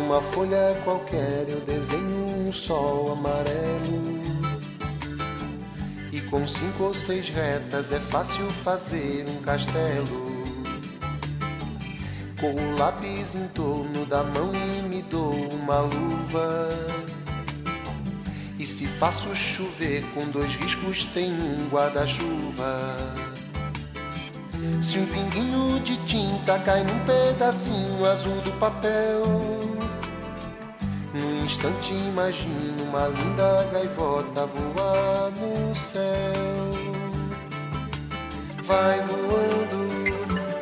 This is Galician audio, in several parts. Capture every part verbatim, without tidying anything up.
Numa folha qualquer eu desenho um sol amarelo, e com cinco ou seis retas é fácil fazer um castelo. Com o lápis em torno da mão e me dou uma luva, e se faço chover com dois riscos tem um guarda-chuva. Se um pinguinho de tinta cai num pedacinho azul do papel, num instante imagino uma linda gaivota voar no céu. Vai voando,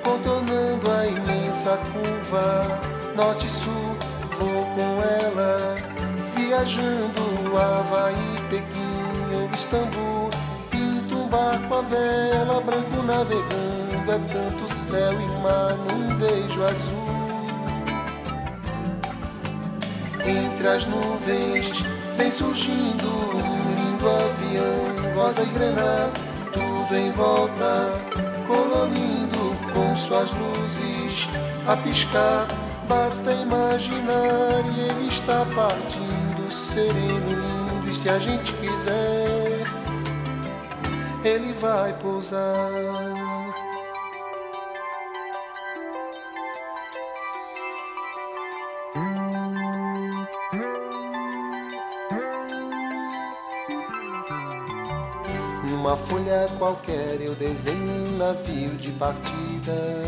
contornando a imensa curva, norte e sul, vou com ela, viajando Havaí, Pequim ou Istambul. Pinto um barco à vela, branco navegando, é tanto céu e mar num beijo azul. Entre as nuvens vem surgindo um lindo avião, rosa e grená, tudo em volta, colorindo com suas luzes a piscar. Basta imaginar e ele está partindo, sereno, lindo, e se a gente quiser, ele vai pousar. Numa folha qualquer eu desenho um navio de partida,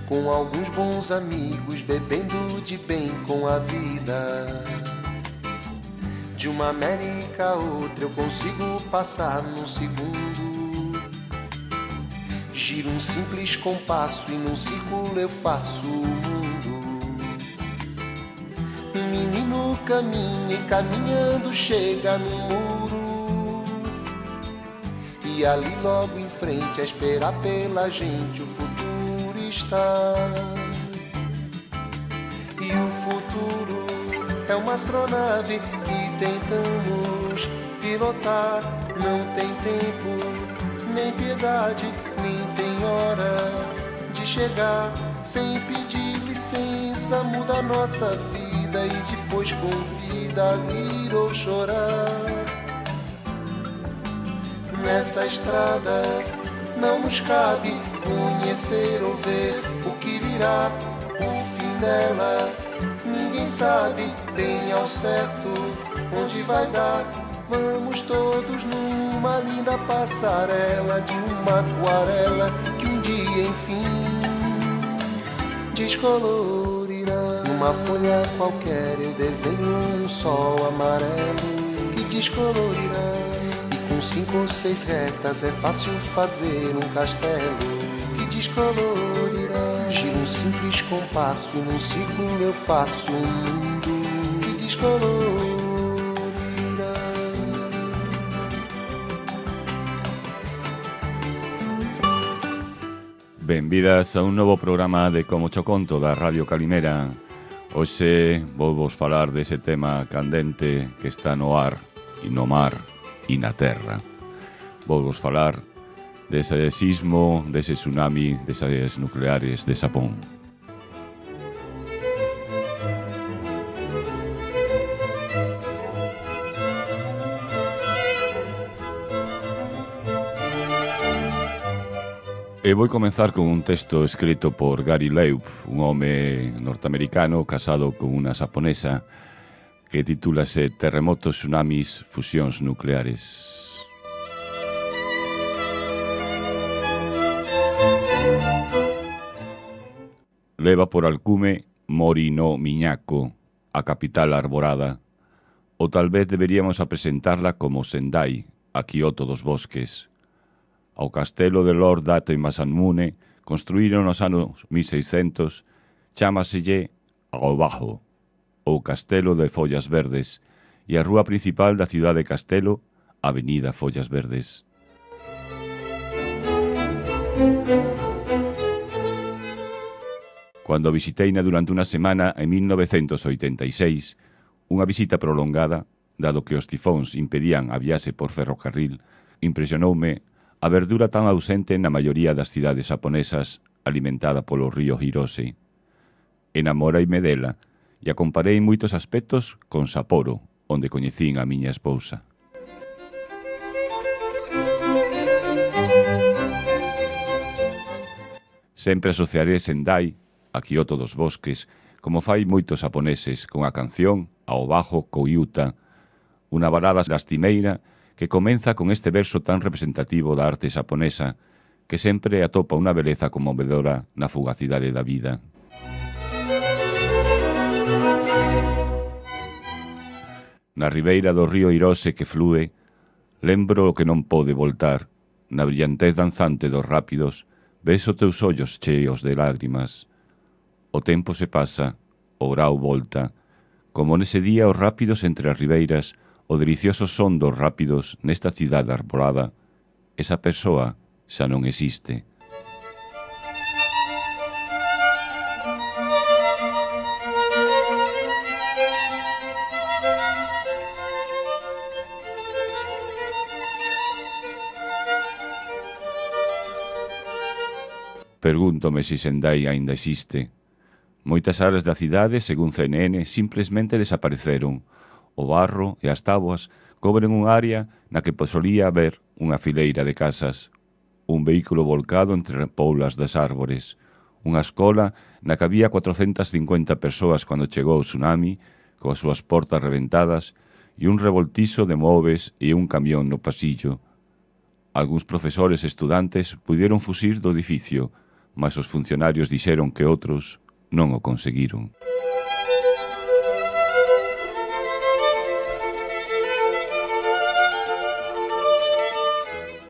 com alguns bons amigos bebendo de bem com a vida. De uma América a outra eu consigo passar num segundo. Giro um simples compasso e num círculo eu faço o mundo. Um menino caminha e caminhando chega no muro, e ali logo em frente a esperar pela gente o futuro está. E o futuro é uma astronave que tentamos pilotar. Não tem tempo, nem piedade, nem tem hora de chegar. Sem pedir licença muda a nossa vida e depois convida a rir ou chorar. Nessa estrada não nos cabe conhecer ou ver o que virá, o fim dela. Ninguém sabe bem ao certo onde vai dar. Vamos todos numa linda passarela de uma aquarela que um dia enfim descolorirá. Numa folha qualquer eu desenho um sol amarelo que descolorirá. Com cinco ou seis retas é fácil fazer um castelo que descolorirá. Giro um simples compasso, num círculo eu faço um mundo que descolorirá. Benvidas a un novo programa de Como Cho Conto da Radio Calimera. Hoxe vou vos falar dese tema candente que está no ar e no mar e na terra. Vou vos falar dese sismo, dese tsunami, desas nucleares de Xapón. E vou comenzar con un texto escrito por Gary Leub, un home norteamericano casado con unha xaponesa, que titúlase Terremotos, tsunamis, fusións nucleares. Leva por alcume Mori no Miñako, a capital arborada, ou tal vez deberíamos apresentarla como Sendai, a Kyoto dos bosques. Ao castelo de Lord Dato e Masamune, construíron nos anos mil seiscentos, chámaselle Aobajo, ou Castelo de Follas Verdes, e a rúa principal da cidade de Castelo, Avenida Follas Verdes. Cando visiteina durante unha semana en mil novecentos oitenta e seis, unha visita prolongada, dado que os tifóns impedían a viaxe por ferrocarril, impresionoume a verdura tan ausente na maioría das cidades xaponesas alimentada polo río Hirose. Enamoreime dela e a comparei en moitos aspectos con Sapporo, onde coñecín a miña esposa. Sempre asociaré Sendai a Kyoto dos bosques, como fai moitos japoneses, con a canción ao bajo Koyuta, unha balada lastimeira que comeza con este verso tan representativo da arte xaponesa, que sempre atopa unha beleza conmovedora na fugacidade da vida. Na ribeira do río Hirose que flúe, lembro o que non pode voltar, na brillantez danzante dos rápidos, ves os teus ollos cheos de lágrimas. O tempo se pasa, o grau volta, como nese día os rápidos entre as ribeiras, o delicioso son dos rápidos nesta cidade arbolada, esa persoa xa non existe. Pregúntome se Sendai aínda existe. Moitas áreas da cidade, según C N N, simplesmente desapareceron. O barro e as táboas cobren unha área na que solía haber unha fileira de casas, un vehículo volcado entre poulas das árbores, unha escola na que había cuatrocentas cincuenta persoas cando chegou o tsunami, coas súas portas reventadas, e un revoltizo de móveis e un camión no pasillo. Algúns profesores e estudantes puderon fuxir do edificio, mas os funcionarios dixeron que outros non o conseguiron.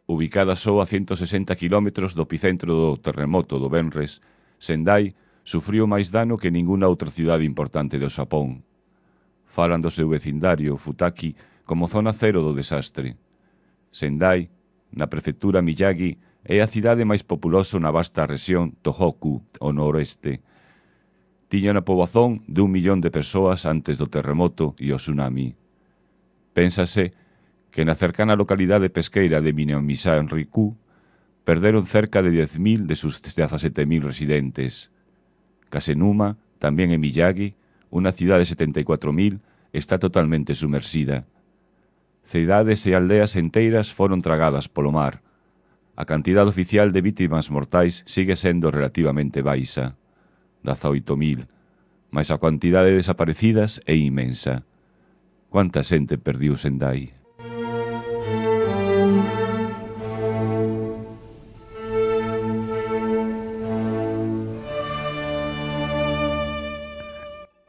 Ubicada só a ciento sesenta kilómetros do epicentro do terremoto do venres, Sendai sufriu máis dano que ningunha outra cidade importante do Xapón. Falan do seu vecindario, Futaki, como zona cero do desastre. Sendai, na prefectura Miyagi, é a cidade máis populosa na vasta rexión Tohoku, ao noroeste. Tiña unha poboación de un millón de persoas antes do terremoto e o tsunami. Pénsase que na cercana localidade pesqueira de Minamisan-Riku perderon cerca de dez mil de sus dezasete mil residentes. Kasenuma, tamén en Miyagi, unha cidade de setenta e catro mil, está totalmente sumersida. Cidades e aldeas enteiras foron tragadas polo mar. A cantidade oficial de vítimas mortais sigue sendo relativamente baixa, dezaoito mil, mas a quantidade de desaparecidas é inmensa. Quanta xente perdiu Sendai?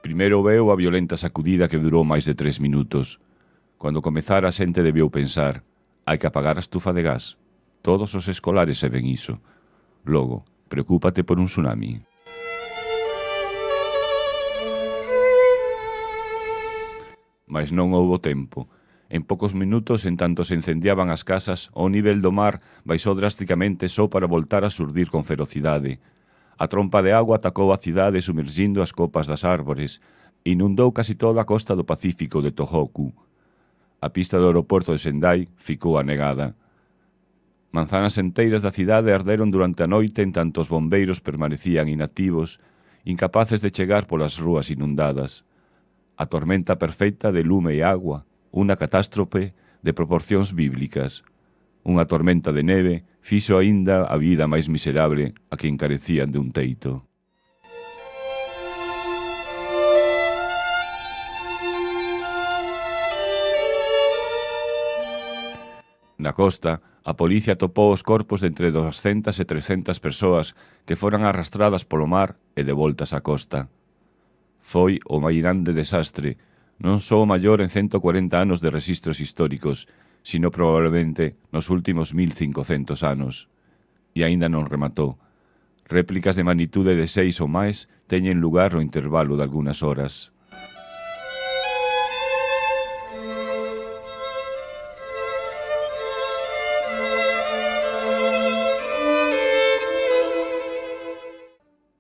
Primeiro veu a violenta sacudida que durou máis de tres minutos. Cando comezara a xente debeu pensar, hai que apagar a estufa de gas. Todos os escolares saben iso. Logo, preocúpate por un tsunami. Mas non houbo tempo. En poucos minutos, en tanto se incendiaban as casas, o nivel do mar baixou drásticamente só para voltar a surdir con ferocidade. A trompa de agua atacou a cidade sumergindo as copas das árbores e inundou casi toda a costa do Pacífico de Tohoku. A pista do aeroporto de Sendai ficou anegada. Manzanas enteiras da cidade arderon durante a noite en tanto os bombeiros permanecían inactivos, incapaces de chegar polas rúas inundadas. A tormenta perfecta de lume e agua, unha catástrofe de proporcións bíblicas. Unha tormenta de neve fixo aínda a vida máis miserable a que encarecían de un teito. Na costa, a policía atopou os corpos de entre doscientas e trescentas persoas que foran arrastradas polo mar e devoltas á costa. Foi o máis grande desastre, non só o maior en ciento cuarenta anos de rexistros históricos, sino probablemente nos últimos mil cincocentos anos. E aínda non rematou. Réplicas de magnitude de seis ou máis teñen lugar no intervalo de algunhas horas.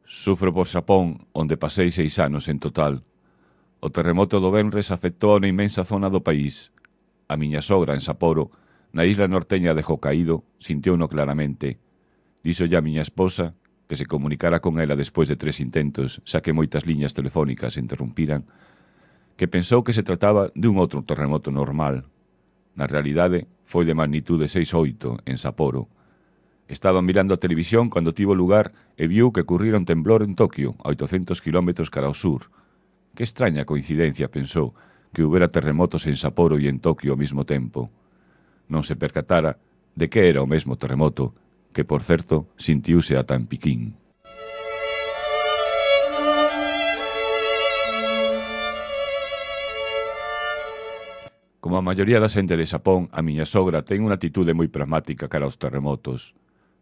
Sufro por Xapón, onde pasei seis anos en total. O terremoto do venres afectou a unha inmensa zona do país. A miña sogra en Sapporo, na isla norteña de Hokkaido, sintiouno claramente. Díxolle a miña esposa que se comunicara con ela despois de tres intentos, xa que moitas liñas telefónicas se interrompiran, que pensou que se trataba dun outro terremoto normal. Na realidade, foi de magnitude seis oito en Sapporo. Estaba mirando a televisión cando tivo lugar e viu que ocurrira un temblor en Tokio, a oitocentos kilómetros cara ao sur. Que extraña coincidencia, pensou, que houbera terremotos en Sapporo e en Tokio ao mesmo tempo. Non se percatara de que era o mesmo terremoto, que, por certo, sintiuse ata en Piquín. Como a maioría da xente de Xapón, a miña sogra ten unha atitude moi pragmática cara aos terremotos.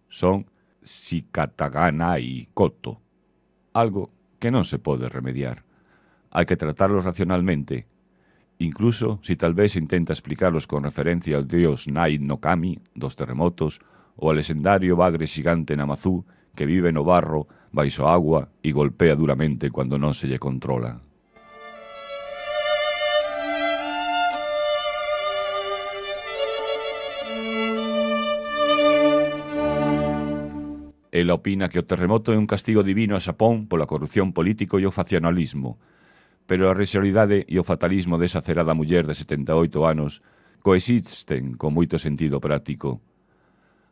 Son shikataganai koto, algo que non se pode remediar. Hai que tratarlos racionalmente, incluso si tal vez intenta explicarlos con referencia ao dios Nai no Kami dos terremotos ou ao lexendario bagre xigante Namazú que vive no barro, baixo agua e golpea duramente cando non se lle controla. Ela opina que o terremoto é un castigo divino a Xapón pola corrupción político e o faccionalismo, pero a racionalidade e o fatalismo desa cerada muller de setenta e oito anos coexisten con moito sentido práctico.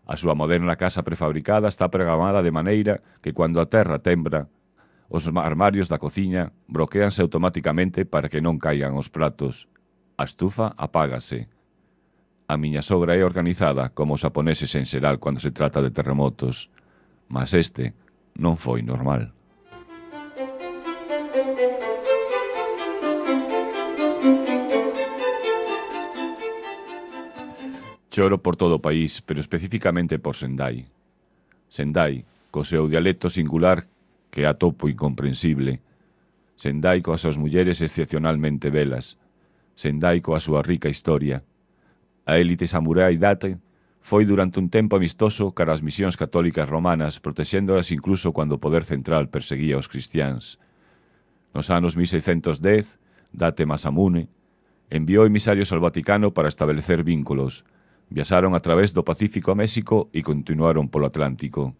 A súa moderna casa prefabricada está programada de maneira que cando a terra tembra, os armarios da cociña bloqueanse automáticamente para que non caigan os pratos. A estufa apágase. A miña sogra é organizada como os xaponeses en xeral cando se trata de terremotos, mas este non foi normal. Choro por todo o país, pero especificamente por Sendai. Sendai, co seu dialecto singular que atopo incomprensible. Sendai coas súas mulleres excepcionalmente belas. Sendai coa súa rica historia. A élite samurai Date foi durante un tempo amistoso cara as misións católicas romanas, protexéndolas incluso cando o poder central perseguía os cristiáns. Nos anos mil seiscentos dez, Date Masamune enviou emisarios ao Vaticano para establecer vínculos. Viaxaron a través do Pacífico a México e continuaron polo Atlántico.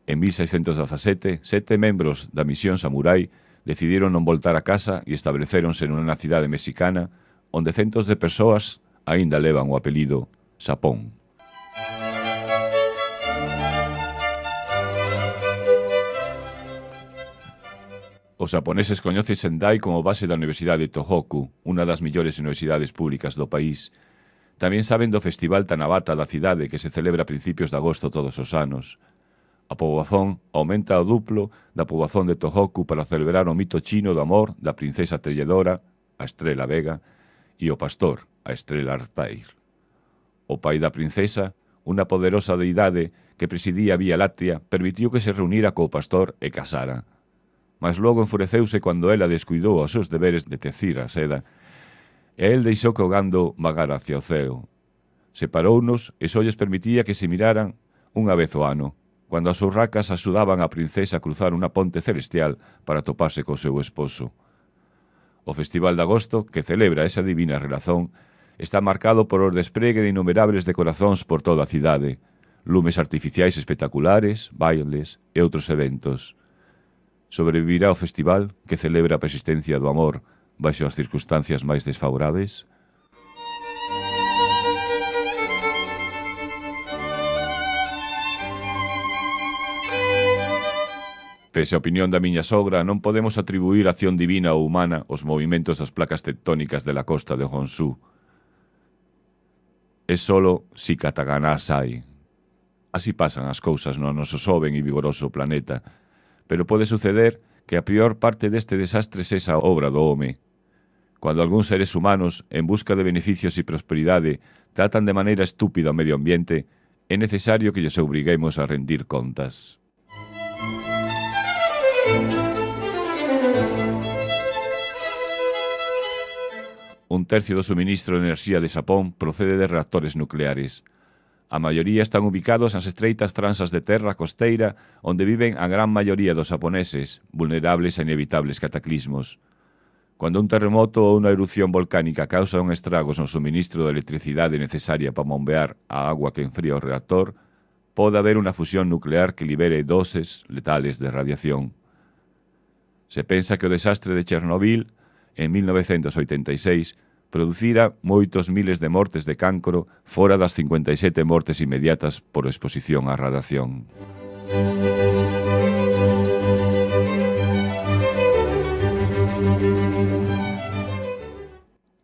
En mil seiscentos dezasete, sete membros da misión samurai decidiron non voltar a casa e establecéronse nunha cidade mexicana onde centos de persoas aínda levan o apelido Xapón. Os xaponeses coñecen Sendai como base da Universidade de Tohoku, unha das millores universidades públicas do país. Tamén saben do Festival Tanabata da cidade que se celebra a principios de agosto todos os anos. A poboación aumenta ao duplo da poboación de Tohoku para celebrar o mito chino do amor da princesa telledora, a Estrela Vega, e o pastor, a Estrela Artair. O pai da princesa, unha poderosa deidade que presidía a Vía Láctea, permitiu que se reunira co pastor e casara. Mas logo enfureceuse cando ela descuidou os seus deberes de tecir a seda e el deixou que o gando vagara hacia o ceo. Separounos e só lles permitía que se miraran unha vez ao ano, cando as urracas axudaban a princesa a cruzar unha ponte celestial para toparse co seu esposo. O Festival de Agosto, que celebra esa divina relación, está marcado por o despregue de innumerables decorazóns por toda a cidade, lumes artificiais espectaculares, bailes e outros eventos. Sobrevivirá o festival que celebra a persistencia do amor baixo as circunstancias máis desfavorables? Pese a opinión da miña sogra, non podemos atribuir a acción divina ou humana aos movimentos das placas tectónicas de la costa de Honshu. É solo Shikatagana Sai. Así pasan as cousas no noso xoven e vigoroso planeta, pero pode suceder que a pior parte deste desastre sexa obra do home. Cuando algúns seres humanos, en busca de beneficios e prosperidade, tratan de maneira estúpida o medio ambiente, é necesario que lles obriguemos a rendir contas. Un tercio do suministro de enerxía de Xapón procede de reactores nucleares. A maioría están ubicados nas estreitas franxas de terra costeira onde viven a gran maioría dos xaponeses, vulnerables a inevitables cataclismos. Cando un terremoto ou unha erupción volcánica causa un estragos no suministro de electricidade necesaria para bombear a agua que enfría o reactor, pode haber unha fusión nuclear que libere doses letales de radiación. Se pensa que o desastre de Chernobyl, en mil novecentos oitenta e seis, producira moitos miles de mortes de cancro fora das cincuenta e sete mortes inmediatas por exposición á radiación.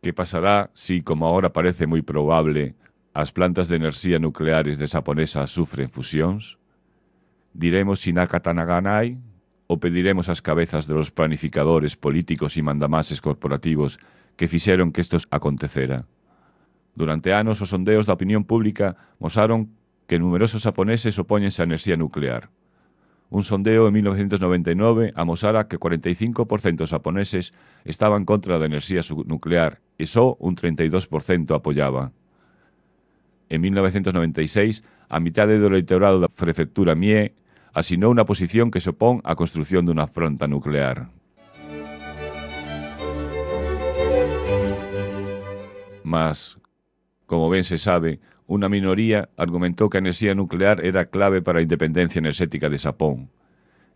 Que pasará si, como agora parece moi probable, as plantas de enerxía nucleares de Saponesa sufren fusións? Diremos Shinaka Tanaganai ou pediremos as cabezas de los planificadores políticos e mandamases corporativos que fixeron que isto acontecera? Durante anos, os sondeos da opinión pública mostraron que numerosos japoneses opóñense á enerxía nuclear. Un sondeo en mil novecentos noventa e nove amosara que cuarenta e cinco por cento dos japoneses estaban contra da enerxía nuclear e só un treinta e dos por cento apoiaba. En mil novecentos noventa e seis, a mitade do eleitorado da prefectura Mie asinou unha posición que se opón á construción dunha planta nuclear. Mas, como ben se sabe, unha minoría argumentou que a enerxía nuclear era clave para a independencia enerxética de Xapón.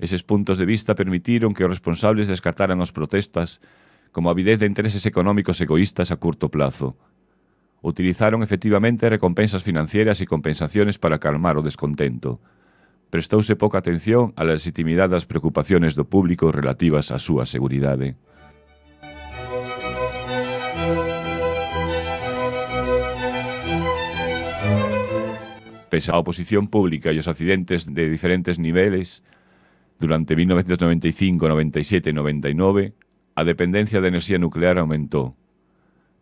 Eses puntos de vista permitiron que os responsables descartaran as protestas como avidez de intereses económicos egoístas a curto plazo. Utilizaron efectivamente recompensas financieras e compensaciones para calmar o descontento. Prestouse pouca atención á legitimidade das preocupaciones do público relativas á súa seguridade. Pese á oposición pública e os accidentes de diferentes niveles, durante mil novecentos noventa e cinco, noventa e sete e noventa e nove, a dependencia de enerxía nuclear aumentou.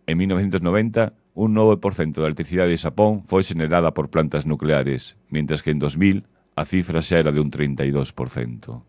En mil novecentos noventa, un nove por cento da electricidade de Xapón foi xenerada por plantas nucleares, mientras que en dos mil a cifra xa era de un treinta e dos por cento.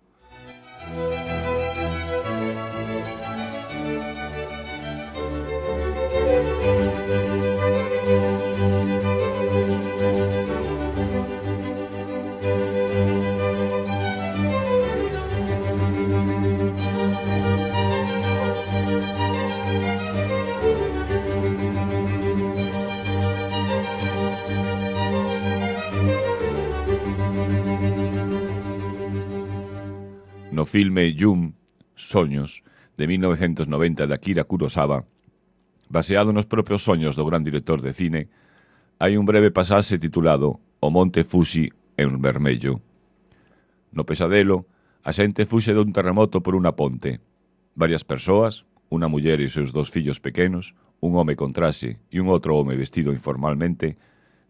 No filme Yum, Soños, de mil novecentos noventa de Akira Kurosawa, baseado nos propios soños do gran director de cine, hai un breve pasaxe titulado O Monte Fuji en vermello. No pesadelo, a xente fuxe dun terremoto por unha ponte. Varias persoas, unha muller e os seus dos fillos pequenos, un home con traxe e un outro home vestido informalmente,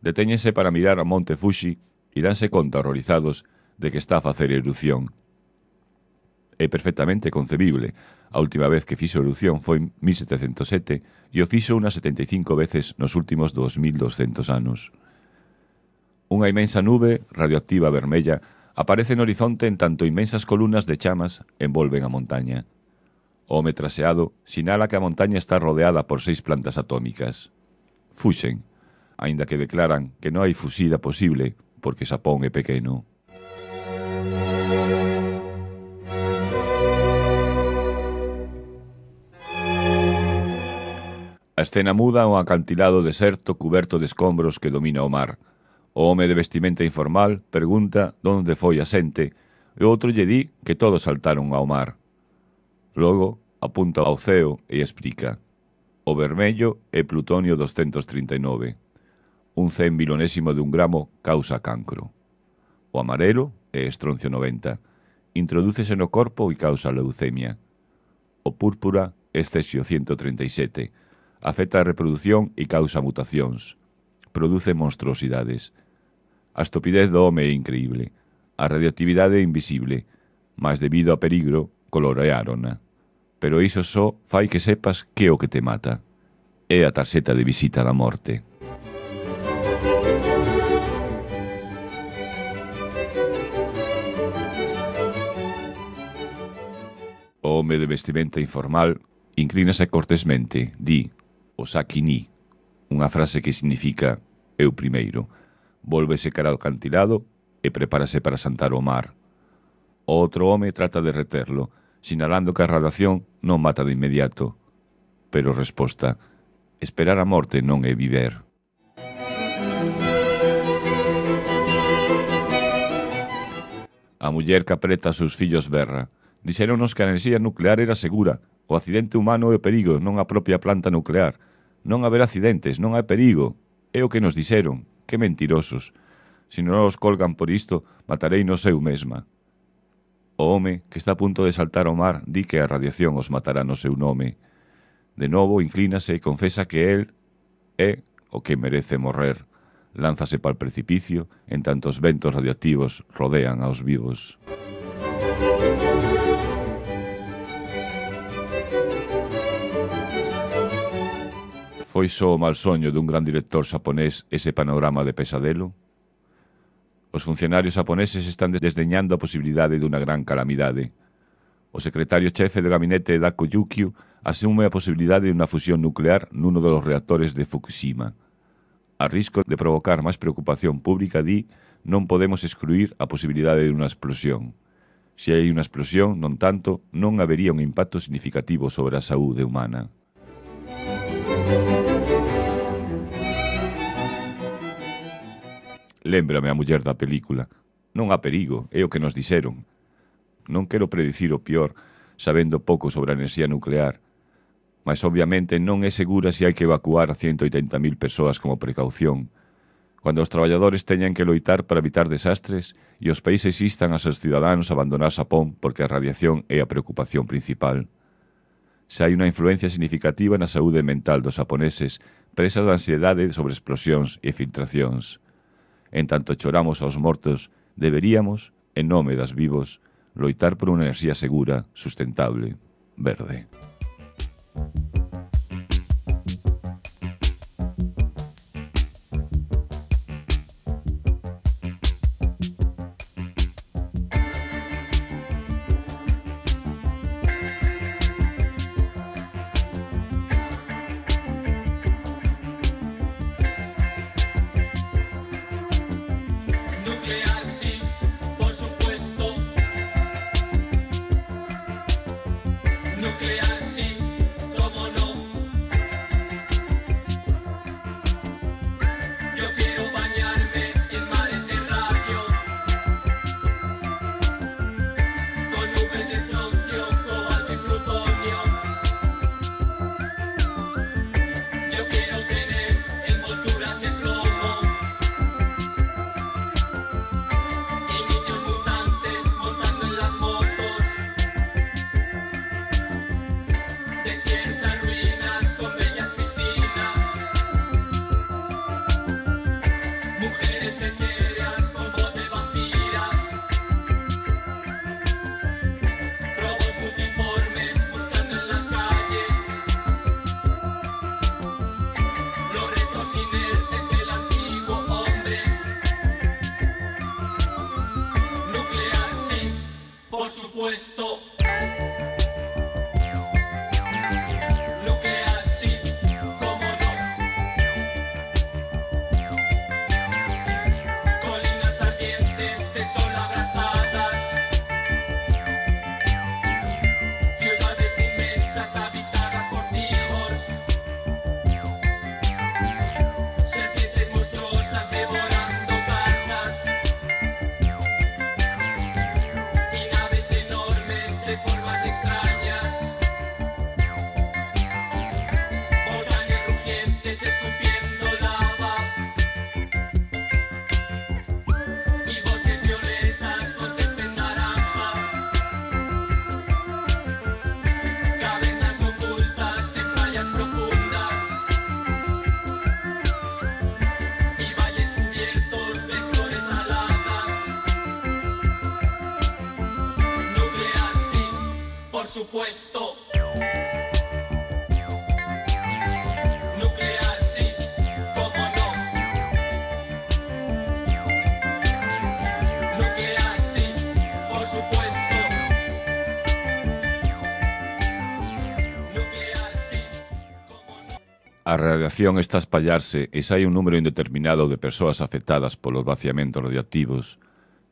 detéñense para mirar ao Monte Fuji e danse conta horrorizados de que está a facer erupción. É perfectamente concebible. A última vez que fixo erupción foi en mil setecentos sete e o fixo unas setenta e cinco veces nos últimos dos mil doscentos anos. Unha inmensa nube radioactiva vermella aparece no horizonte en tanto inmensas columnas de chamas envolven a montaña. O home traseado sinala que a montaña está rodeada por seis plantas atómicas. Fuxen, aínda que declaran que non hai fusida posible porque Xapón é pequeno. A escena muda a un acantilado deserto cuberto de escombros que domina o mar. O home de vestimenta informal pregunta onde foi a xente e o outro lle di que todos saltaron ao mar. Logo apunta ao ceo e explica: o vermello é plutonio doscientos trinta e nove. Un cen milonésimo de un gramo causa cancro. O amarelo é estroncio noventa. Introdúcese no corpo e causa leucemia. O púrpura é cesio ciento treinta e sete. Afecta a reproducción e causa mutacións. Produce monstruosidades. A estupidez do home é increíble. A radioactividade é invisible, mas debido a perigro, coloreárona. Pero iso só fai que sepas que é o que te mata. É a tarxeta de visita da morte. O home de vestimenta informal inclínase cortesmente, di Osaki ni, unha frase que significa eu primeiro. Vólvese cara ao acantilado e prepárase para saltar ao mar. O outro home trata de reterlo, sinalando que a radiación non mata de inmediato. Pero resposta: esperar a morte non é viver. A muller que apreta aos seus fillos berra. Dixéronos que a enerxía nuclear era segura. O accidente humano é o perigo, non a propia planta nuclear. Non haber accidentes, non hai perigo. É o que nos dixeron. Que mentirosos. Se non os colgan por isto, matarei no eu mesma. O home, que está a punto de saltar ao mar, di que a radiación os matará no seu nome. De novo, inclínase e confesa que el é o que merece morrer. Lánzase para o precipicio, en tanto os ventos radioactivos rodean aos vivos. Foi só o mal soño dun gran director xaponés ese panorama de pesadelo? Os funcionarios xaponeses están desdeñando a posibilidade dunha gran calamidade. O secretario chefe do gabinete Dako Yukio asume a posibilidade de unha fusión nuclear nuno dos reactores de Fukushima. A risco de provocar máis preocupación pública, di, non podemos excluir a posibilidade de unha explosión. Se hai unha explosión, non tanto, non habería un impacto significativo sobre a saúde humana. Lémbrame a muller da película. Non há perigo, é o que nos dixeron. Non quero predicir o peor, sabendo pouco sobre a enerxía nuclear, mas obviamente non é segura se hai que evacuar a ciento oitenta mil persoas como precaución. Cando os traballadores teñan que loitar para evitar desastres e os países instan aos seus cidadáns a abandonar Xapón porque a radiación é a preocupación principal. Se hai unha influencia significativa na saúde mental dos xaponeses presas de ansiedade sobre explosións e filtracións. En tanto choramos aos mortos, deberíamos, en nome das vivos, loitar por unha enerxía segura, sustentable, verde. Supuesto. Nuclear sí, cómo no. Nuclear sí, por supuesto. Nuclear sí, cómo no. A radiación está a espallarse e xa hai un número indeterminado de persoas afectadas polos vaciamentos radioactivos,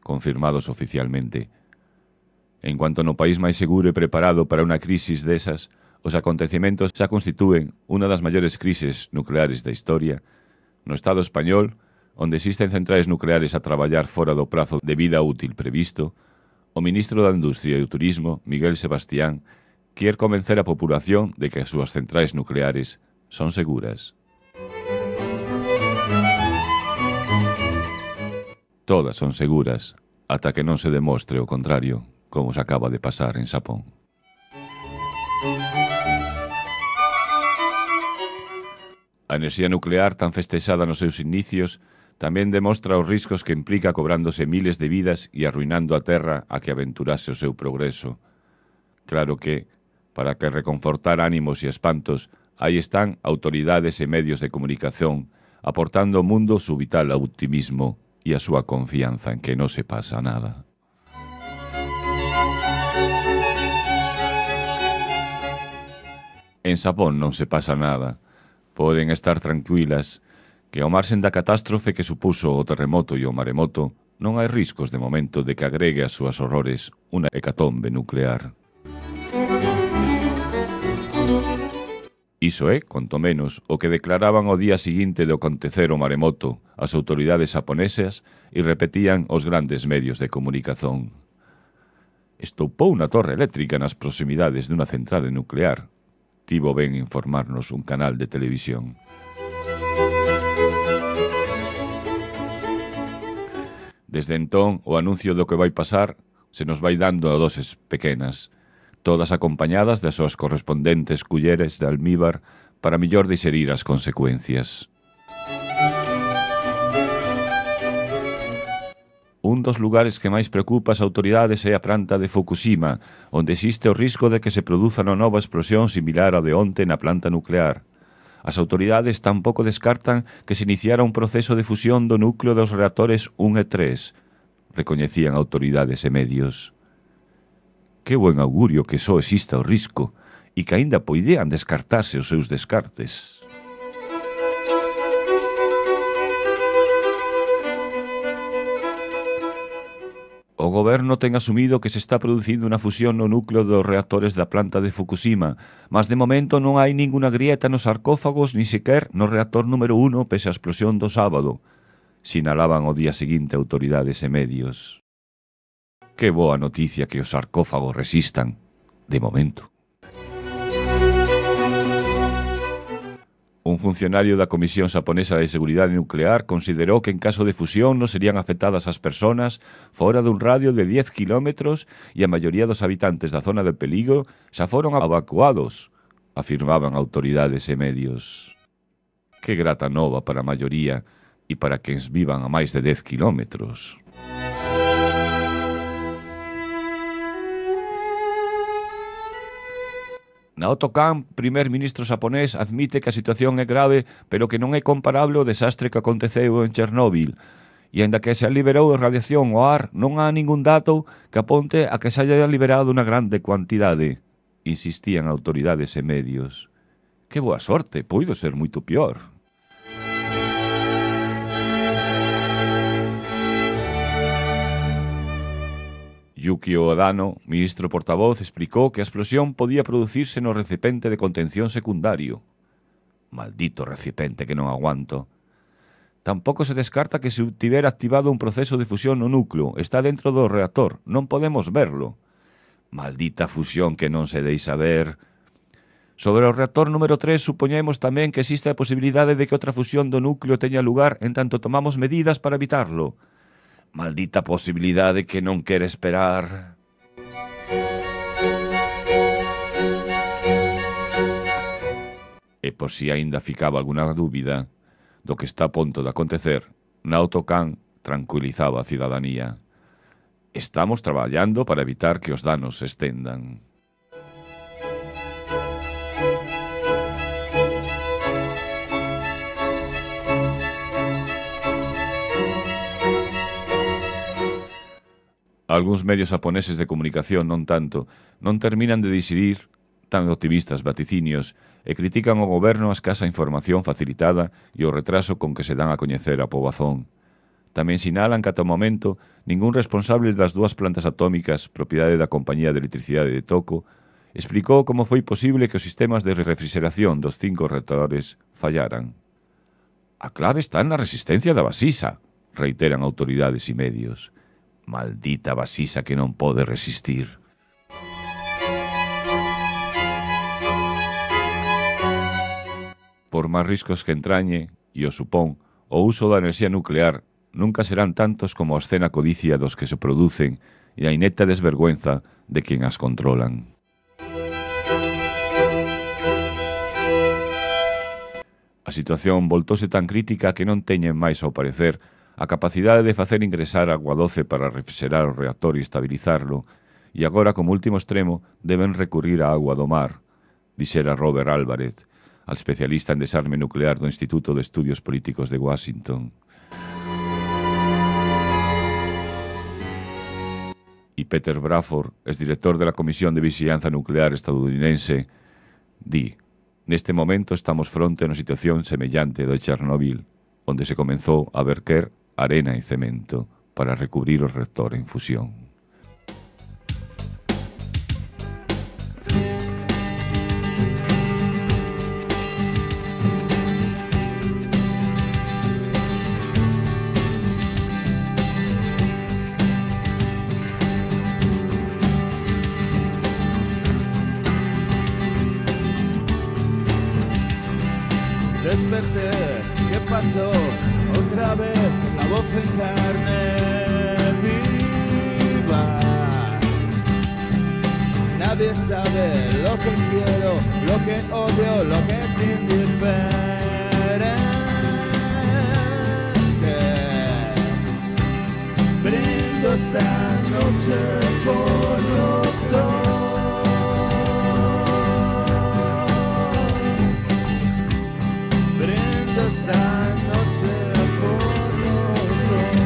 confirmados oficialmente. En cuanto no país máis seguro e preparado para unha crisis desas, os acontecementos xa constitúen unha das maiores crises nucleares da historia, no Estado español, onde existen centrais nucleares a traballar fora do prazo de vida útil previsto, O ministro da Industria e o Turismo, Miguel Sebastián, quer convencer a populación de que as súas centrais nucleares son seguras. Todas son seguras, ata que non se demostre o contrario, como se acaba de pasar en Xapón. A enerxía nuclear, tan festexada nos seus inicios, tamén demostra os riscos que implica cobrándose miles de vidas e arruinando a terra a que aventurase o seu progreso. Claro que, para que reconfortar ánimos e espantos, aí están autoridades e medios de comunicación, aportando ao mundo su vital optimismo e a súa confianza en que non se pasa nada. En Xapón non se pasa nada. Poden estar tranquilas que ao marxen da catástrofe que supuso o terremoto e o maremoto, non hai riscos de momento de que agregue as súas horrores unha hecatombe nuclear. Iso é, conto menos, o que declaraban o día seguinte de acontecer o maremoto as autoridades xaponesas e repetían os grandes medios de comunicación. Estoupou unha torre eléctrica nas proximidades dunha central nuclear. Tivo ben informarnos un canal de televisión. Desde entón, o anuncio do que vai pasar se nos vai dando a doses pequenas, todas acompañadas das súas correspondentes culleres de almíbar para millor digerir as consecuencias. Un dos lugares que máis preocupa as autoridades é a planta de Fukushima, onde existe o risco de que se produza unha nova explosión similar ao de onte na planta nuclear. As autoridades tampouco descartan que se iniciara un proceso de fusión do núcleo dos reactores un e tres, recoñecían autoridades e medios. Que buen augurio que só exista o risco e que aínda poidean descartarse os seus descartes. O goberno ten asumido que se está producindo unha fusión no núcleo dos reactores da planta de Fukushima, mas de momento non hai ninguna grieta nos sarcófagos ni sequer no reactor número uno pese a explosión do sábado, sinalaban o día seguinte autoridades e medios. Que boa noticia que os sarcófagos resistan, de momento. Un funcionario da Comisión Xaponesa de Seguridade Nuclear considerou que en caso de fusión non serían afectadas as persoas fora dun radio de dez kilómetros e a maioría dos habitantes da zona de perigo xa foron evacuados, afirmaban autoridades e medios. Que grata nova para a maioría e para quens vivan a máis de dez kilómetros. Naoto Kan, primer ministro xaponés, admite que a situación é grave, pero que non é comparable ao desastre que aconteceu en Chernóbil. E aínda que se liberou a radiación ao ar, non há ningún dato que aponte a que se haya liberado unha grande cuantidade, insistían autoridades e medios. Que boa sorte, poido ser moito pior. Yukio Odano, ministro portavoz, explicou que a explosión podía producirse no recipiente de contención secundario. Maldito recipiente que non aguanto. Tampouco se descarta que se tivera activado un proceso de fusión no núcleo. Está dentro do reactor. Non podemos verlo. Maldita fusión que non se deixa ver. Sobre o reactor número tres, supoñemos tamén que existe a posibilidade de que outra fusión do núcleo teña lugar en tanto tomamos medidas para evitarlo. Maldita posibilidade que non quere esperar. E por si aínda ficaba alguna dúbida do que está a punto de acontecer, Naoto Kan tranquilizaba a cidadanía. Estamos traballando para evitar que os danos se estendan. Algúns medios xaponeses de comunicación, non tanto, non terminan de dixerir tan optimistas vaticinios e critican ao goberno a escasa información facilitada e o retraso con que se dan a coñecer a pobazón. Tamén sinalan que ata o momento ningún responsable das dúas plantas atómicas propiedade da Compañía de Electricidade de Toco explicou como foi posible que os sistemas de refrigeración dos cinco reactores fallaran. A clave está na resistencia da vasisa, reiteran autoridades e medios. Maldita vasisa que non pode resistir. Por máis riscos que entrañe, e o supón, o uso da enerxía nuclear nunca serán tantos como a escena codicia dos que se producen e a ineta desvergüenza de quen as controlan. A situación voltóse tan crítica que non teñen máis, ao parecer, a capacidade de facer ingresar agua doce para refrigerar o reactor e estabilizarlo, e agora, como último extremo, deben recurrir á agua do mar, dixera Robert Álvarez, al especialista en desarme nuclear do Instituto de Estudios Políticos de Washington. E Peter Bradford, exdirector de la Comisión de Vigilancia Nuclear estadounidense, di: neste momento estamos fronte a unha situación semellante do de Chernobyl, onde se comenzou a verter arena e cemento para recubrir o reactor en fusión. Desperté, ¿qué pasó? Otra vez la voz en carne viva. Nadie sabe lo que quiero, lo que odio, lo que es indiferente. Brindo esta noche por los dos. Esta noche por los dos.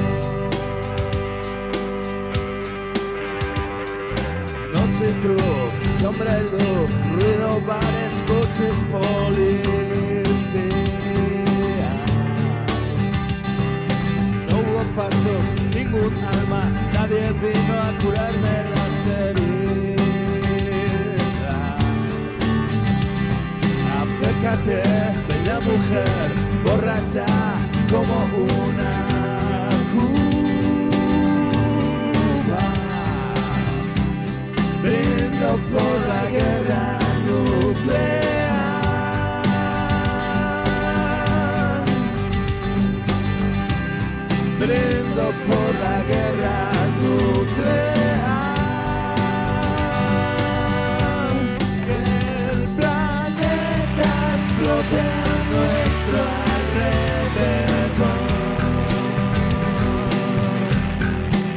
Noche y cruz, sombra y luz, ruido, bares, coches, policía. No hubo pasos, ningún alma, nadie vino a curarme las heridas. Acércate, bella mujer, borracha como una cuba. Brindo por la guerra nuclear. Brindo por la guerra nuclear. Que el planeta explote a nuestro alrededor.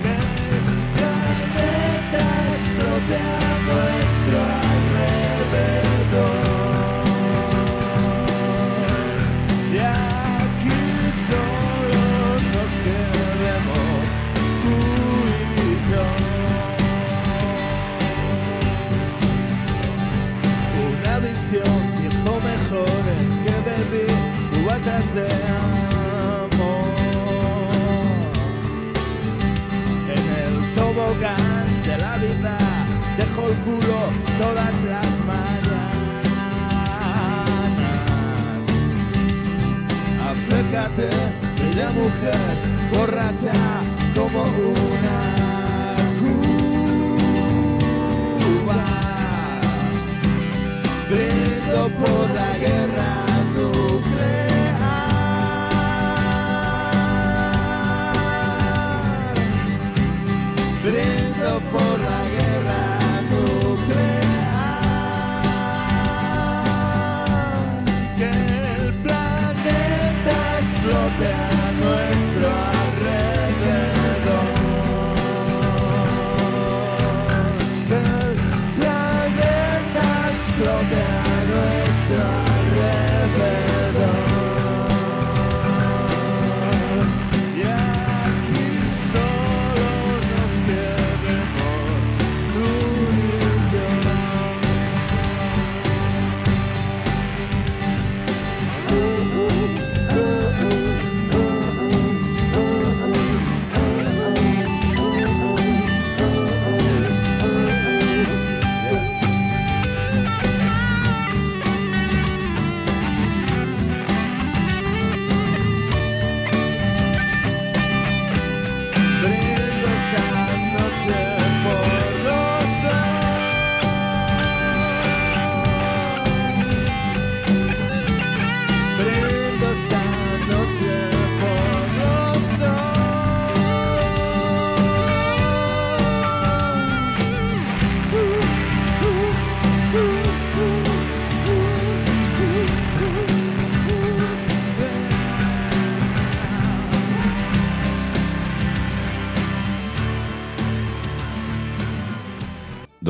Que el planeta explote a nuestro alrededor. Y aquí solo nos queremos tú y yo. Una visión, tiempo mejor en que bebí cubatas de amor. En el tobogán de la vida dejo el culo todas las mañanas. Acércate, bella mujer, borracha como una cuba. Brindo por la guerra nuclear. Brindo por la guerra nuclear. Que el planeta explote a nuestro alrededor. Que el planeta explote a nuestro alrededor.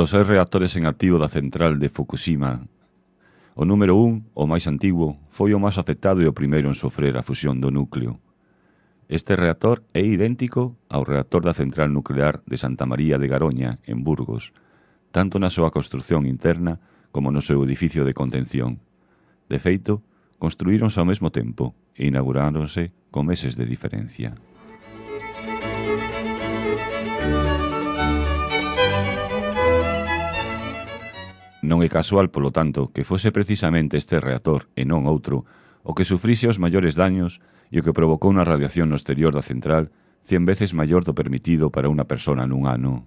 Dos seis reactores en activo da central de Fukushima, o número un, o máis antigo, foi o máis afectado e o primeiro en sofrer a fusión do núcleo. Este reactor é idéntico ao reactor da central nuclear de Santa María de Garoña, en Burgos, tanto na súa construción interna como no seu edificio de contención. De feito, construíronse ao mesmo tempo e inauguráronse con meses de diferencia. Non é casual, polo tanto, que fose precisamente este reactor e non outro o que sufrise os maiores daños e o que provocou unha radiación no exterior da central cien veces maior do permitido para unha persona nun ano.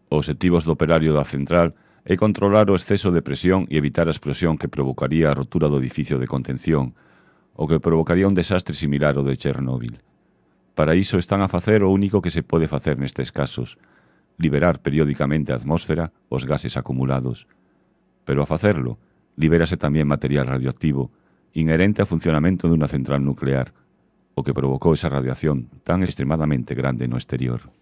Os obxectivos do operario da central é controlar o exceso de presión e evitar a explosión que provocaría a rotura do edificio de contención, o que provocaría un desastre similar ao de Chernóbil. Para iso están a facer o único que se pode facer nestes casos, liberar periódicamente a atmósfera os gases acumulados. Pero a facerlo, libérase tamén material radioactivo inherente ao funcionamento dunha central nuclear, o que provocou esa radiación tan extremadamente grande no exterior.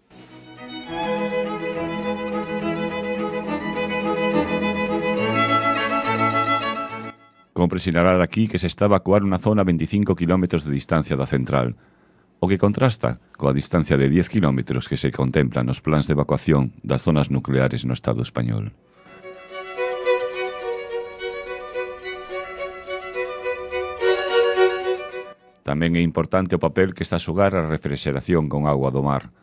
Compre sinalar aquí que se está a evacuar unha zona a veinticinco kilómetros de distancia da central, o que contrasta coa distancia de diez kilómetros que se contempla nos plans de evacuación das zonas nucleares no Estado español. Tamén é importante o papel que está a xogar a refrexeración con agua do mar.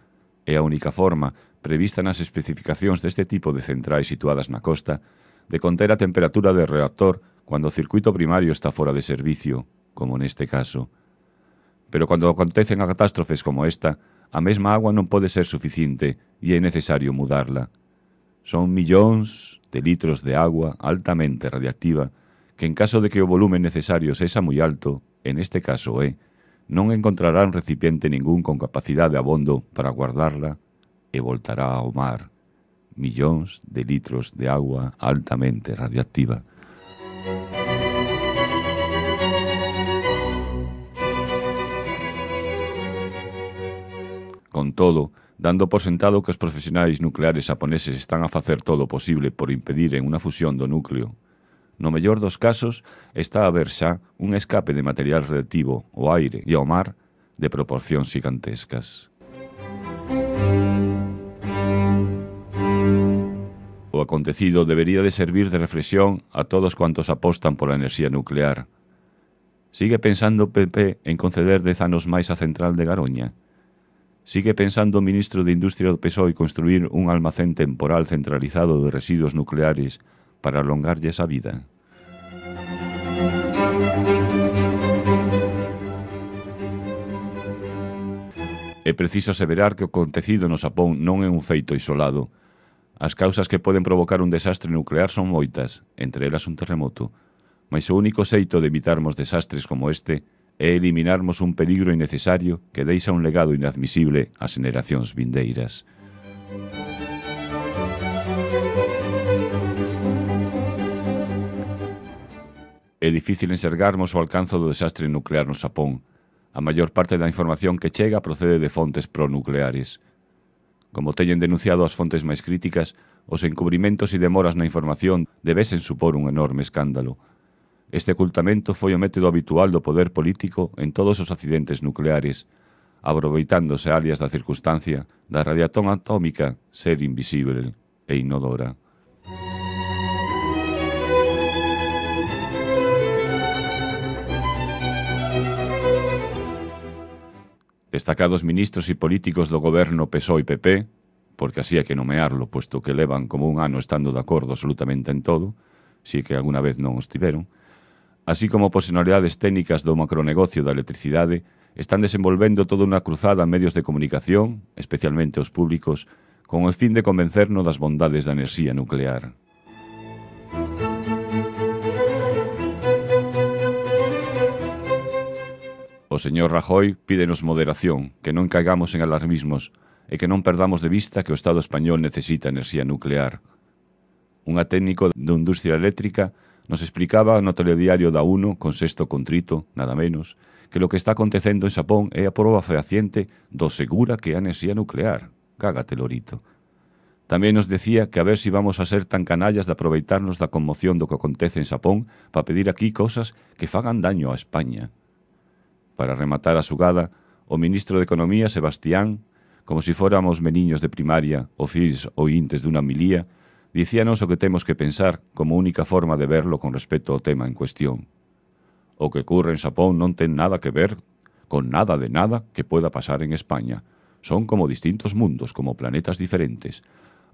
É a única forma, prevista nas especificacións deste tipo de centrais situadas na costa, de conter a temperatura de reactor cando o circuito primario está fora de servicio, como neste caso. Pero cando acontecen a catástrofes como esta, a mesma agua non pode ser suficiente e é necesario mudarla. Son millóns de litros de agua altamente radiactiva que en caso de que o volumen necesario sexa moi alto, en este caso é, non encontrarán recipiente ningún con capacidade abondo para guardarla e voltará ao mar. Millóns de litros de agua altamente radiactiva. Con todo, dando por sentado que os profesionais nucleares xaponeses están a facer todo o posible por impediren unha fusión do núcleo, no mellor dos casos está a haber xa un escape de material radioactivo ao aire e ao mar de proporcións gigantescas. O acontecido debería de servir de reflexión a todos cuantos apostan pola enerxía nuclear. Sigue pensando o P P en conceder dez anos máis a central de Garoña? Sigue pensando o ministro de Industria do P S O E construir un almacén temporal centralizado de residuos nucleares para alongarlles a vida? É preciso aseverar que o acontecido no Xapón non é un feito isolado. As causas que poden provocar un desastre nuclear son moitas, entre elas un terremoto, mas o único xeito de evitarmos desastres como este é eliminarmos un peligro innecesario que deixa un legado inadmisible ás xeracións vindeiras. É difícil enxergarmos o alcance do desastre nuclear no Xapón. A maior parte da información que chega procede de fontes pronucleares. Como teñen denunciado as fontes máis críticas, os encubrimentos e demoras na información debesen supor un enorme escándalo. Este ocultamento foi o método habitual do poder político en todos os accidentes nucleares, aproveitándose alias da circunstancia da radiación atómica ser invisible e inodora. Destacados ministros e políticos do goberno P S O E e P P, porque así hai que nomearlo, puesto que levan como un ano estando de acordo absolutamente en todo, si que alguna vez non os tiveron, así como personalidades técnicas do macronegocio da electricidade, están desenvolvendo toda unha cruzada en medios de comunicación, especialmente os públicos, con o fin de convencernos das bondades da enerxía nuclear. O señor Rajoy pídenos moderación, que non caigamos en alarmismos e que non perdamos de vista que o Estado español necesita enerxía nuclear. Unha técnico de industria eléctrica Nos explicaba no telediario da UNO, con Sexto Contrito, nada menos, que lo que está acontecendo en Xapón é a proba fehaciente do segura que é a enerxía nuclear. Cágate, lorito. Tamén nos decía que a ver si vamos a ser tan canallas de aproveitarnos da conmoción do que acontece en Xapón para pedir aquí cousas que fagan daño a España. Para rematar a xugada, o ministro de Economía, Sebastián, como si fóramos meniños de primaria ou fills ointes dunha milía, dicíanos o que temos que pensar como única forma de verlo con respecto ao tema en cuestión. O que ocurre en Xapón non ten nada que ver con nada de nada que pueda pasar en España. Son como distintos mundos, como planetas diferentes.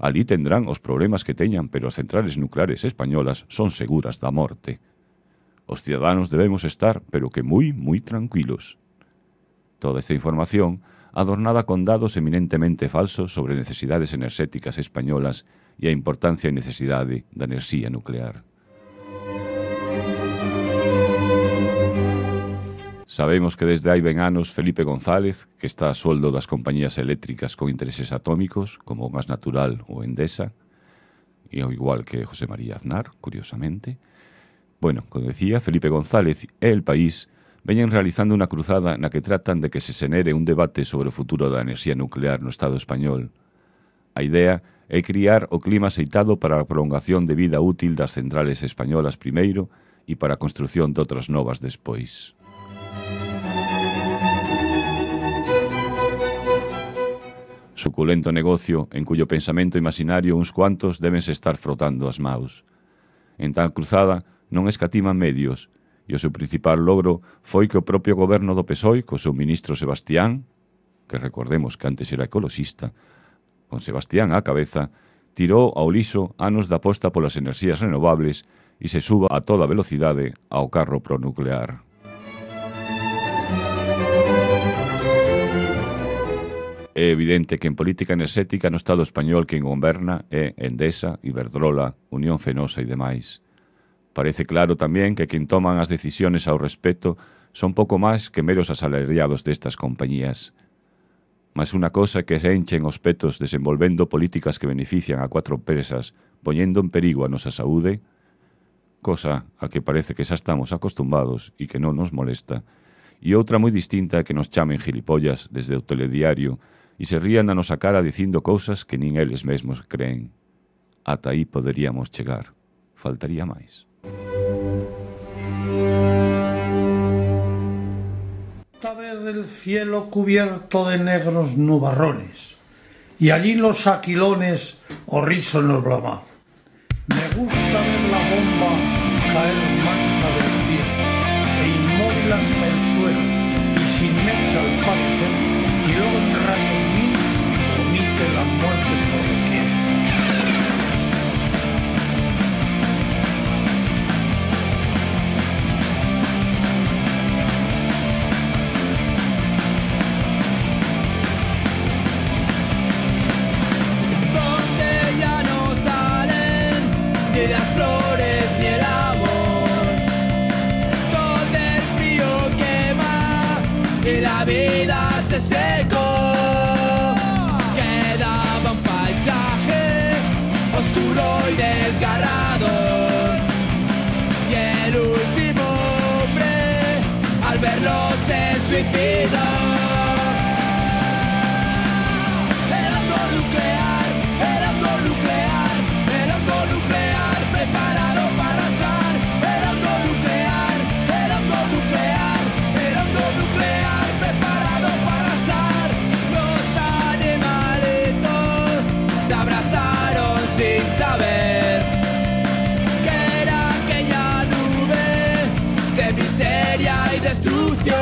Alí tendrán os problemas que teñan, pero as centrales nucleares españolas son seguras da morte. Os ciudadanos debemos estar, pero que moi, moi tranquilos. Toda esta información, adornada con datos eminentemente falsos sobre necesidades enerxéticas españolas e a importancia e necesidade da enerxía nuclear. Sabemos que desde hai ben anos Felipe González, que está a sueldo das compañías eléctricas con intereses atómicos, como o Gas Natural ou Endesa, e ao igual que José María Aznar, curiosamente. Bueno, como decía, Felipe González e El País veñen realizando unha cruzada na que tratan de que se xenere un debate sobre o futuro da enerxía nuclear no Estado español. A idea é criar o clima aceitado para a prolongación de vida útil das centrales españolas primeiro e para a construción de outras novas despois. Suculento negocio en cuyo pensamento imaginario uns cuantos débense estar frotando as maus. En tal cruzada non escatiman medios, e o seu principal logro foi que o propio goberno do P S O E, co seu ministro Sebastián, que recordemos que antes era ecoloxista, con Sebastián á cabeza, tirou ao liso anos da aposta polas enerxías renovables e se suba a toda velocidade ao carro pronuclear. É evidente que en política enerxética no Estado español quen goberna é Endesa, Iberdrola, Unión Fenosa e demais. Parece claro tamén que quen toman as decisiones ao respecto son pouco máis que meros asalariados destas compañías. Mas unha cosa que se enchen os petos desenvolvendo políticas que benefician a cuatro empresas, poñendo en perigo a nosa saúde, cosa a que parece que xa estamos acostumbados e que non nos molesta, e outra moi distinta é que nos chamen gilipollas desde o telediario e se rían a nosa cara dicindo cousas que nin eles mesmos creen. Ata aí poderíamos chegar. Faltaría máis. Ver el cielo cubierto de negros nubarrones y allí los aquilones horrísonos bramar. Me gusta ver la bomba caer mansa del cielo e inmóvil hasta el suelo y sin mecha al parecer y luego en rayos mil omite la muerte por doquier. Las flores ni el amor, donde el frío quema y la vida se secó, quedaba un paisaje oscuro y desgarrado, y el último hombre al verlo se suicidó. El horno nuclear, el horno nuclear, el horno nuclear preparado para arrasar, el horno nuclear, el horno nuclear, el horno nuclear preparado para arrasar. Los animalitos se abrazaron sin saber que era aquella nube de miseria y destrucción.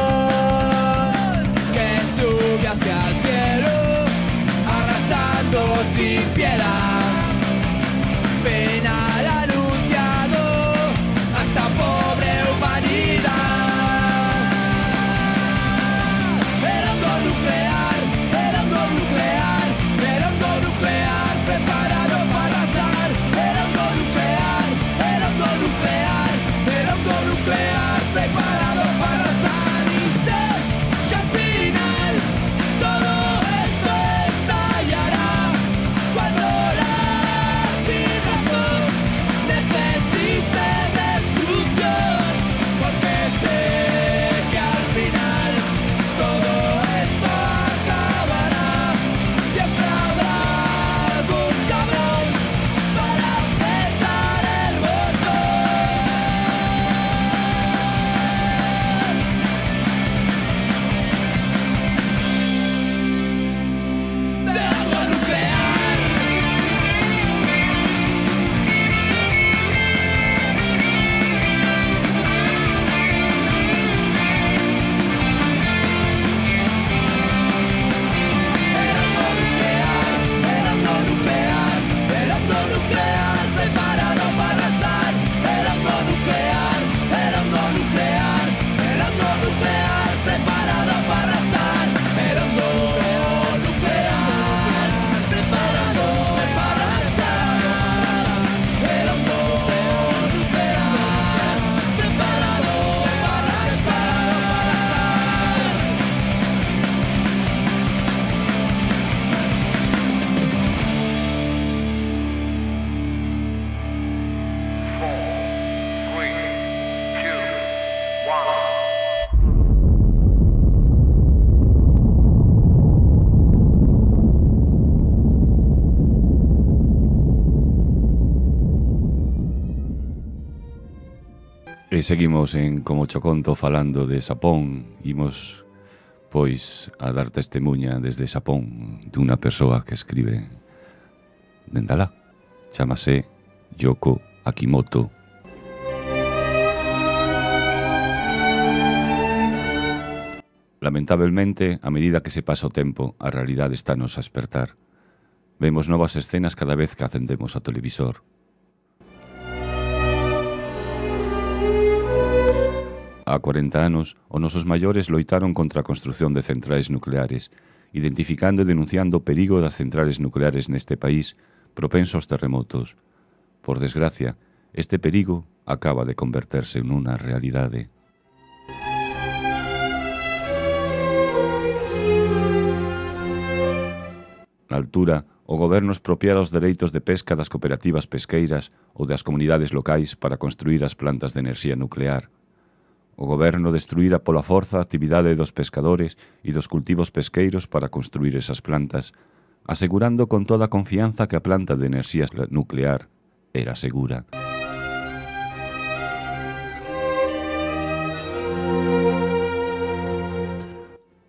E seguimos en Como cho conto falando de Xapón. Imos, pois, a dar testemunha desde Xapón dunha persoa que escribe dende alá. Chámase Yoko Akimoto. Lamentablemente, a medida que se pasa o tempo, a realidade estános a espertar. Vemos novas escenas cada vez que acendemos o televisor. Há cuarenta anos, os nosos maiores loitaron contra a construción de centrais nucleares, identificando e denunciando o perigo das centrales nucleares neste país propenso aos terremotos. Por desgracia, este perigo acaba de converterse nunha realidade. Na altura, o goberno expropiara os dereitos de pesca das cooperativas pesqueiras ou das comunidades locais para construir as plantas de enerxía nuclear. O goberno destruíra pola forza a actividade dos pescadores e dos cultivos pesqueiros para construir esas plantas, asegurando con toda a confianza que a planta de enerxía nuclear era segura.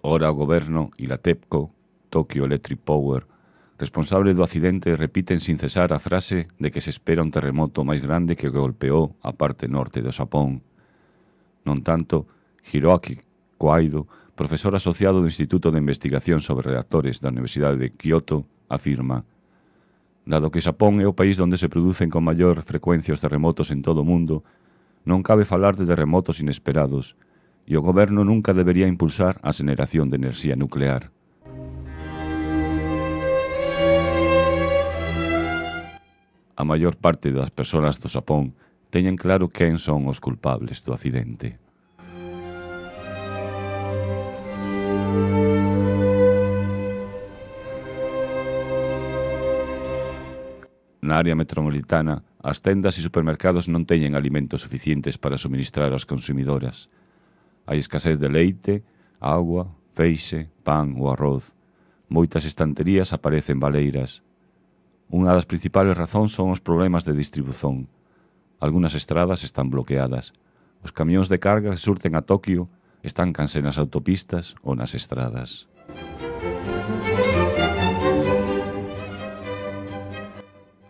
Ora o goberno e la TEPCO, Tokyo Electric Power, responsable do accidente, repiten sin cesar a frase de que se espera un terremoto máis grande que golpeou a parte norte do Xapón. Non tanto, Hiroaki Koaido, profesor asociado do Instituto de Investigación sobre Reactores da Universidade de Kyoto, afirma: dado que Xapón é o país onde se producen con maior frecuencia os terremotos en todo o mundo, non cabe falar de terremotos inesperados, e o goberno nunca debería impulsar a xeneración de enerxía nuclear. A maior parte das persoas do Xapón teñen claro quen son os culpables do accidente. Na área metropolitana, as tendas e supermercados non teñen alimentos suficientes para suministrar ás consumidoras. Hai escasez de leite, agua, feixe, pan ou arroz. Moitas estanterías aparecen baleiras. Unha das principales razóns son os problemas de distribución. Algunas estradas están bloqueadas. Os camións de carga que surten a Tokio estáncanse nas autopistas ou nas estradas.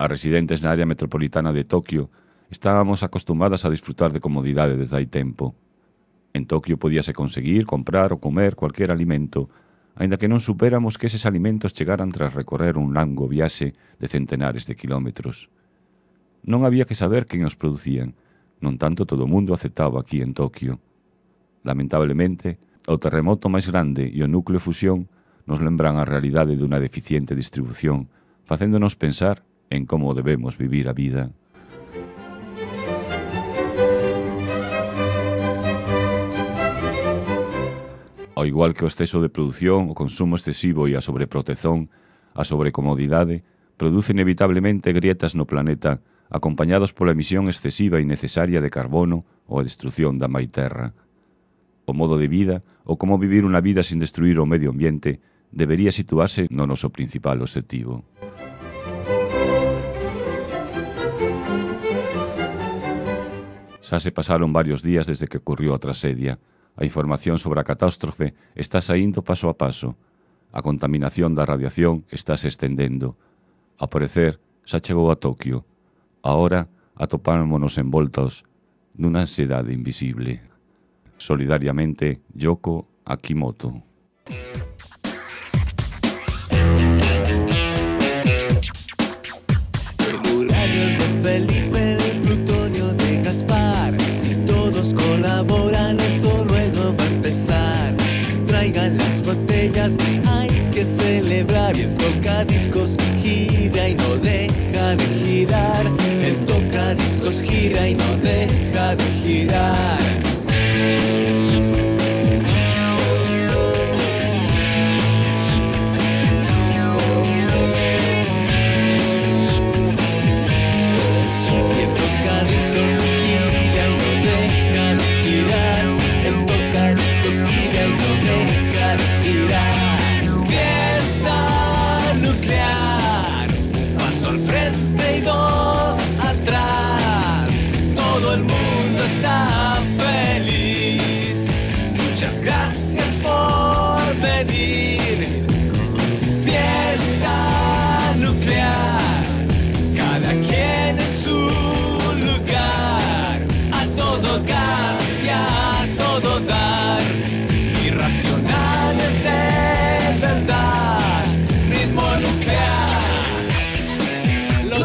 As residentes na área metropolitana de Tokio estábamos acostumadas a disfrutar de comodidade desde hai tempo. En Tokio podíase conseguir, comprar ou comer cualquier alimento, aínda que non supéramos que eses alimentos chegaran tras recorrer un longo viaxe de centenares de kilómetros. Non había que saber quen os producían, non tanto todo o mundo aceptaba aquí en Tokio. Lamentablemente, o terremoto máis grande e o núcleo fusión nos lembran a realidade dunha deficiente distribución, facéndonos pensar en como debemos vivir a vida. Ao igual que o exceso de produción, o consumo excesivo e a sobreprotección, a sobrecomodidade, produce inevitablemente grietas no planeta, acompañados pola emisión excesiva e innecesaria de carbono ou a destrución da mai terra. O modo de vida, ou como vivir unha vida sin destruir o medio ambiente, debería situarse no noso principal obxectivo. Xa se pasaron varios días desde que ocurriu a traxedia. A información sobre a catástrofe está saindo paso a paso. A contaminación da radiación está se estendendo. Ao parecer, xa chegou a Tokio. Ahora atopámonos envoltos nunha ansiedade invisible. Solidariamente, Yoko Akimoto. El uranio de Felipe, el plutonio de Gaspar. Si todos colaboran, esto luego va a empezar. Traigan las botellas, hay que celebrar. Y el tocadiscos gira y no deja de girar. El tocadiscos gira y no deja de girar. Todo el mundo está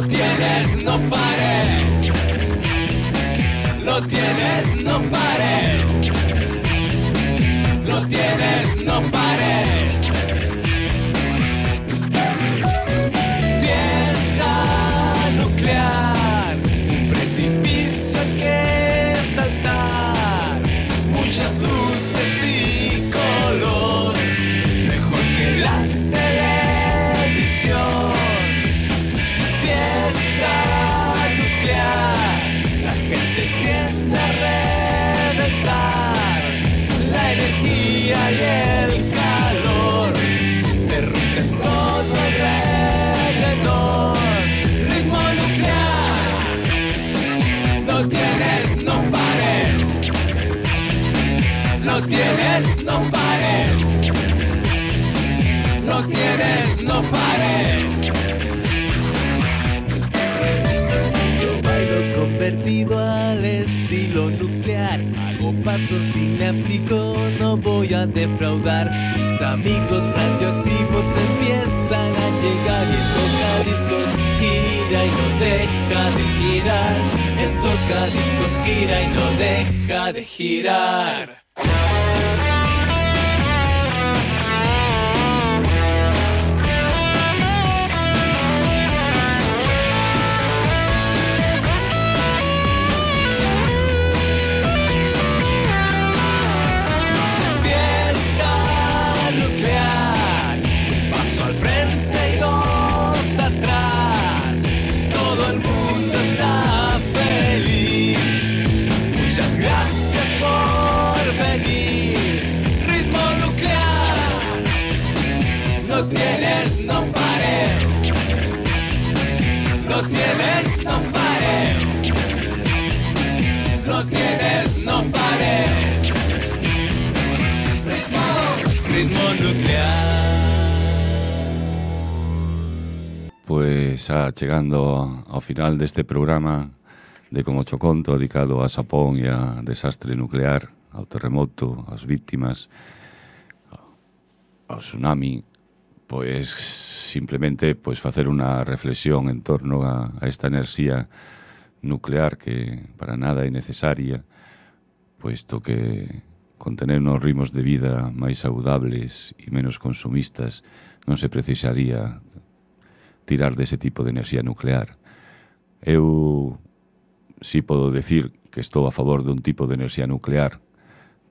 Lo tienes, no pares. Lo tienes, no pares. Lo tienes, no pares. Fiesta nuclear, un precipicio que saltar, muchas luces y color, mejor que la televisión. Fiesta nuclear, la gente tiende a reventar, la energía y el calor derriten todo alrededor. Ritmo nuclear, lo tienes, no pares. Lo tienes, no pares. Lo tienes, no pares. Yo bailo convertido al estilo nuclear. Hago pasos y me aplico, no voy a defraudar. Mis amigos radioactivos empiezan a llegar. Y el tocadiscos gira y no deja de girar. El tocadiscos gira y no deja de girar. Lo tienes, no pares. Lo tienes, no pares. Lo tienes, no pares. Ritmo, ritmo nuclear. Pois xa chegando ao final deste programa de Como cho conto, dedicado a Xapón e a desastre nuclear, ao terremoto, ás víctimas, ao tsunami, pois simplemente pois facer unha reflexión en torno a, a esta enerxía nuclear que para nada é necesaria, poisto que con tener uns ritmos de vida máis saudables e menos consumistas non se precisaría tirar dese tipo de enerxía nuclear. Eu si podo decir que estou a favor dun tipo de enerxía nuclear,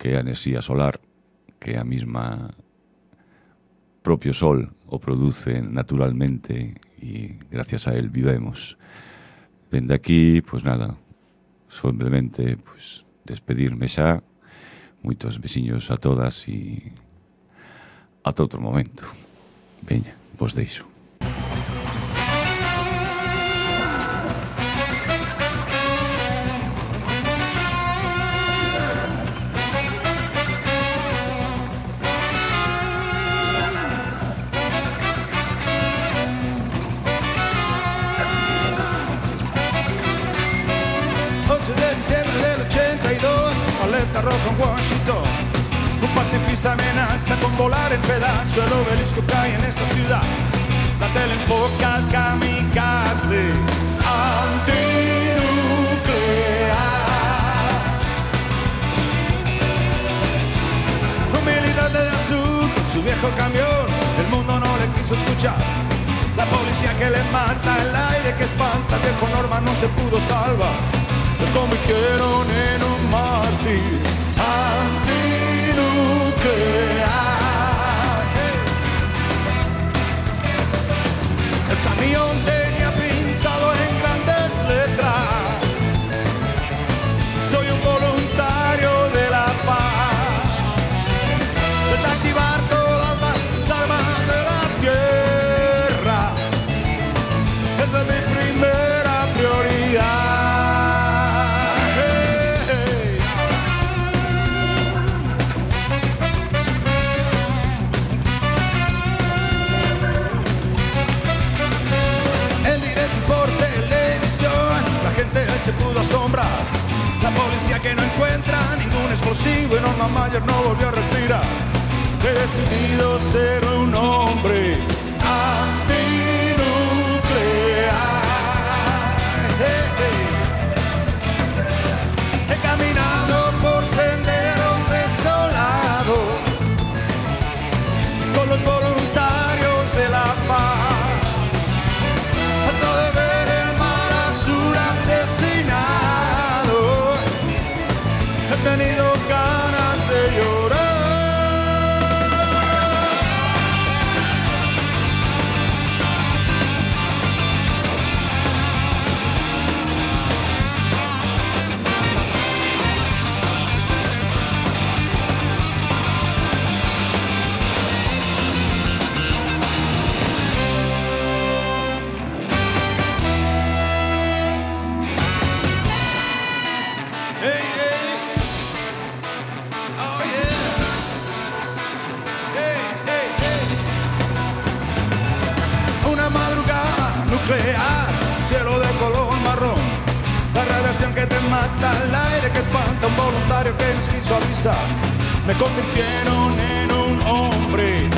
que é a enerxía solar, que é a mesma propio sol o produce naturalmente e gracias a él vivemos. Dende aquí, pois nada, simplemente pois despedirme xa, moitos besiños a todas e ata outro momento. Veña, vos deixo. Rojo en Washington, un pacifista amenaza con volar en pedazo. El obelisco cae en esta ciudad. La tele enfoca al kamikaze antinuclear. Un militante de azul con su viejo camión, el mundo no le quiso escuchar. La policía que le mata, el aire que espanta, el viejo Norman no se pudo salvar. Lo convirtieron en un mártir antinuclear. El camión tenía pintado en grandes letras: soy un voluntario de la paz. Desactivar todas las armas de la tierra, esa es mi primera prioridad. Se pudo asombrar. La policía que no encuentra ningún explosivo y Norman Mayer no volvió a respirar. He decidido ser un hombre antinuclear. un cielo de color marrón. La radiación que te mata, el aire que espanta, un voluntario que nos quiso avisar. Me convirtieron en un hombre